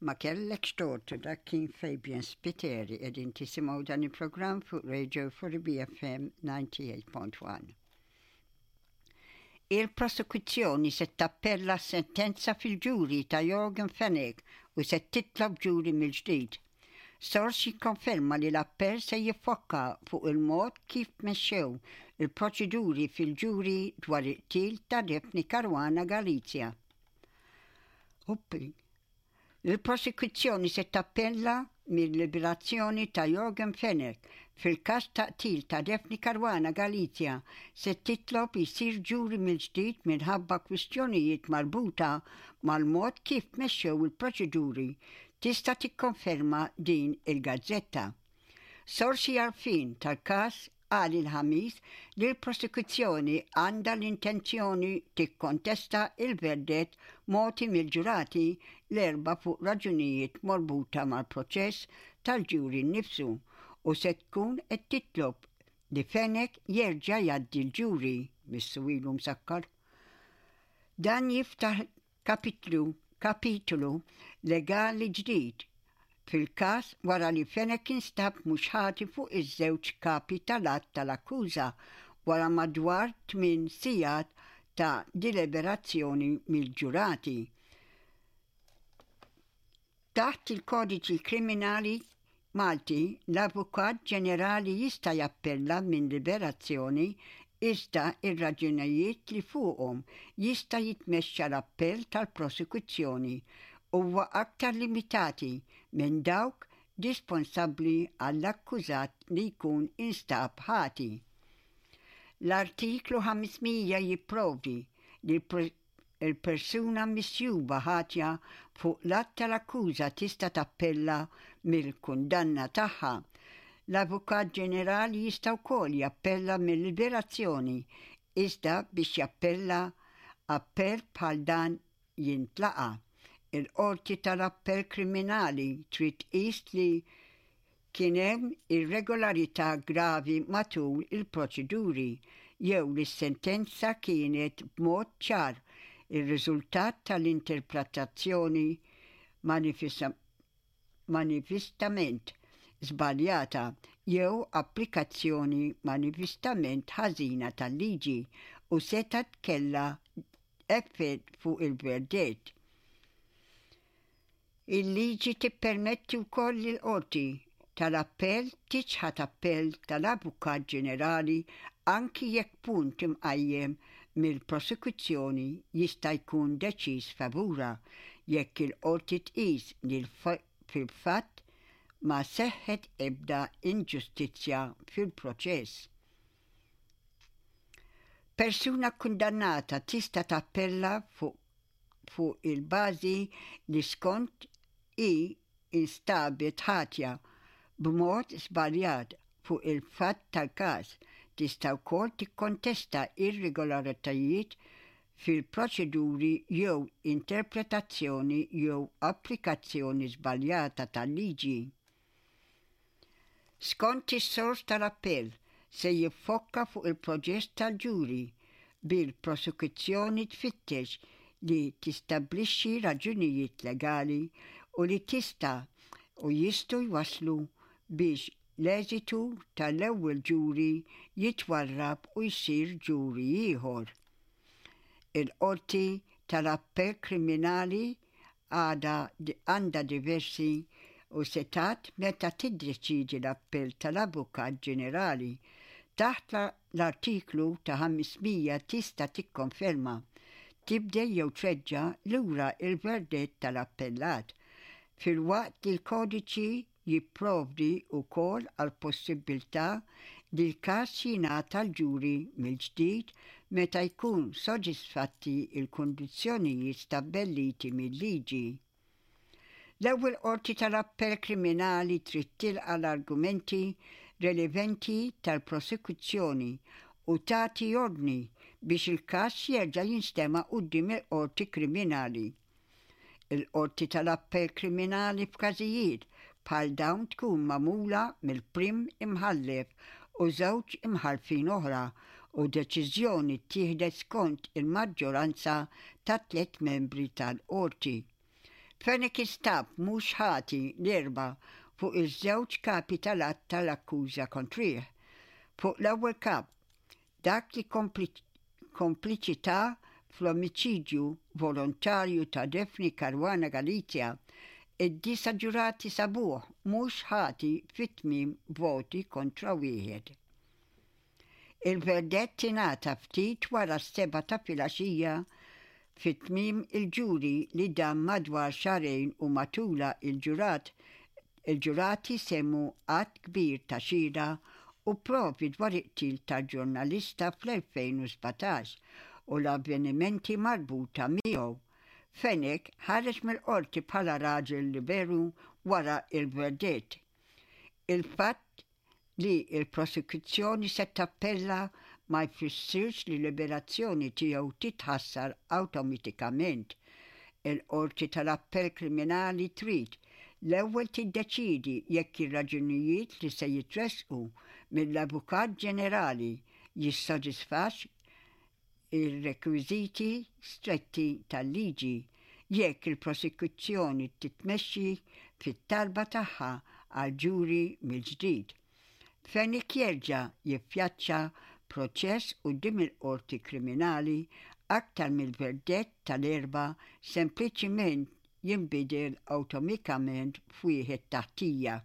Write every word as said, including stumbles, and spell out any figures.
Ma kellekx tort, dak kien Fabian Spiteri. Qegħdin tisimgħu dan il-programm fuq Radio Four E B F M disgħa u tmenin punt wieħed. Il-prosekuzzjoni se tappella sentenza fil-ġuri ta' Yorgen Fenech u se titlob ġuri mill-ġdid. Sors jikkonferma li l-appell se jiffokka fuq il-mod kif mexxew il-proċeduri fil-ġuri dwar il-qtil ta' Daphne Caruana Galizia. Uppi. Il-prosekuzzjoni se tappella mill-liberazzjoni ta' Yorgen Fenech fil-każ ta' qtil ta' Daphne Caruana Galizia, se titlob jisir ġuri mill-ġdid minħabba kwistjonijiet marbuta mal-mod kif mexxew il-proċeduri, tista' tikkonferma din il-gazzetta. Sorsi għarfin tal-każ qal il-Ħamis li l-prosekuzzjoni għandha l-intenzjoni tikkontesta il-verdett mogħti mill-ġurati l-Erbgħa fuq raġunijiet marbuta mal-proċess tal-ġuri nnifsu u se tkun qed titlob li Fenech jerġa' jgħaddi l-ġuri missu ilu msakkar. Dan jiftaħ kapitlu kapitlu legali ġdid fil-każ wara li Fenech instab mhux ħati fuq iż-żewġ kapi tal-att tal-akkuża wara madwar tmien sigħat ta' deliberazzjoni mill-ġurati. Taħt il-kodiċi kriminali Malti, l-Avukat Ġenerali jista' jappella minn liberazzjoni, iżda ir-raġunijiet li fuqhom jista' jitmexxa l-appell tal-prosekuzzjoni huwa aktar limitati minn dawk disponsabbli għall-akkużat li jkun instab ħati. L-artiklu ħames mija jipprovdi li il-persuna misjuba ħatja fuq l-att tal-akkuża tista' tappella mill-kundanna tagħha. L-Avukat Ġenerali jista' wkoll jappella mill-liberazzjoni, iżda biex jappella appell bħal dan jintlaqa', il-qorti tal-appell kriminali trid tqis li kien hemm irregolarità gravi matul il-proċeduri jew li s-sentenza kienet b'mod ċar ir-riżultat tal-interpretazzjoni manifestament żbaljata jew applikazzjoni manifestament ħażina tal-liġi u setgħet kellha effett fuq il-verdett. Il-liġi tippermetti wkoll lill-qorti tal-appell tiċħad appell tal-Avukat Ġenerali anki jekk punt imqajjem mill-prosekuzzjoni jista' jkun deċiż favura, jekk il-qorti tqis li fil-fatt ma seħħet ebda inġustizzja fil-proċess. Persuna kundannata tista' tappella fuq fuq il-bażi li skont hi instabet ħatja b'mod żbaljat fuq il-fatt tal-każ. Tista' wkoll tikkontesta irregolaritajiet fil-proċeduri jew interpretazzjoni jew applikazzjoni żbaljata tal-liġi. Skont is-sors, tal-appell se jiffokka fuq il-proċess tal-ġuri, bil-prosekuzzjoni tfittex li tistabbilixxi raġunijiet legali u li tista' u jistgħu jwaslu biex l-eżitu tal-ewwel ġuri jitwarrab u jsir ġuri ieħor. Il-qorti tal-appell kriminali għada għandha diversi u setgħat meta tiddeċidi l-appell tal-Avukat Ġenerali. Taħt l-artiklu ta' ħames mija tista' tikkonferma, tibdel jew treġġa' lura il-verdett tal-appellat, filwaqt li l-kodiċi jipprovdi wkoll għal possibilità li l-każ jingħata l-ġuri mill-ġdid meta jkun sodisfatti il-kundizzjonijiet stabbiliti mill-liġi. L-ewwel qorti tal-appell kriminali trid tilqa' l-argumenti releventi tal-prosekuzzjoni u tagħti ordni biex il-każ jerġa' jinstema' quddiem il-qorti kriminali. Il-qorti tal-appell kriminali f'każijiet bħal dawn tkun magħmula mill-prim imħallef u żewġ imħalfin oħra u deċiżjoni ttieħdet skont il-maġġoranza ta' tliet membri tal-qorti. Fenech instab mhux ħati l-Erbgħa fuq iż-żewġ kapi tal-att tal-akkuża kontrih. Fuq l-ewwel kap, dak li kompliċità fl-omiċidju volontarju ta' Daphne Caruana Galizia, id-disa' ġurati sabuh mhux ħati fi tmien voti kontra wieħed. Il-verdett ingħata ftit wara s-sebgħa ta' filgħaxija fi tmiem il-ġuri li dam madwar xahrejn u matulha il-ġurat il-ġurati semgħu għadd kbir ta' xhieda u provi dwar il-qtil tal-ġurnalista fl-elfejn u sbatax u l-avvenimenti marbuta miegħu. Fenech ħareġ mill-qorti bħala raġel liberu wara il-verdett. Il-fatt li il-prosekuzzjoni se tappella ma jfissirx li liberazzjoni tiegħu titħassar awtomatikament. Il-qorti tal-appell kriminali trid l-ewwel tiddeċidi jekk ir-raġunijiet li se jitressqu mill-Avukat Ġenerali jissodisfax ir-rekwiżiti stretti tal-liġi jekk il-prosekuzzjoni titmexxi fit-talba tagħha għal ġuri mill-ġdid. Fenech jerġa' jiffaċċja proċess quddiem il-qorti kriminali aktar mill-verdett tal-Erbgħa sempliċiment jinbidel awtomatikament f'wieħed ta' ħtija.